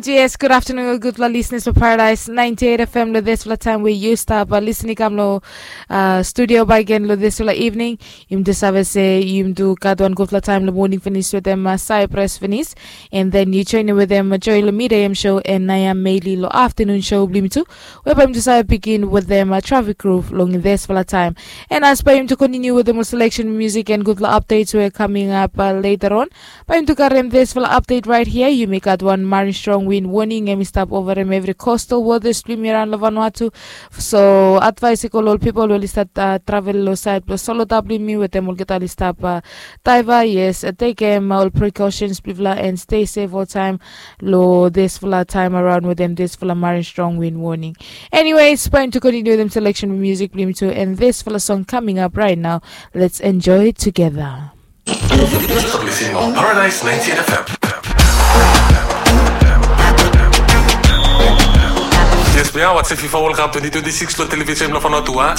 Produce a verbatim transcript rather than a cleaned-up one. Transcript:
Yes, good afternoon, gudfala listeners for Paradise ninety-eight F M. Lo disfala taem we yu stap listening kam lo studio bakegen lo disfala evening, yumi tu save se yumi tu gat wan gudfala taem lo moning finis wetem Cyprus finis, and then yu joining wetem Joy lo midam show and Naya Meili lo afternoon show blo yumi tu, we bae yumi tu save begin wetem Traffic Groove long disfala taem. And as bae yumi tu continue wetem ol selection music and gudfala updates we coming up later on, bae yumi tu karem disfala update right here. Yumi gat wan Marin Strong Wind warning, hemi stap overem evri coastal waters blo yumi araon lo Vanuatu. So advice i go lo ol pipol we oli stap travel lo saed blo Solotar blo yumi wetem olgeta oli stap daiva. Yes, tekem ol precautions blo yufala and stay safe oltaem lo disfala taem araon wetem disfala Marin Strong Wind warning. Anyways, bae yumi tu continue wetem selection music blo yumi tu, and disfala song coming up right now. Let's enjoy it together. You're listening on Paradise ninety-eight F M. Yes, we are watching FIFA World Cup twenty twenty-six lo television blo Vanuatu, a?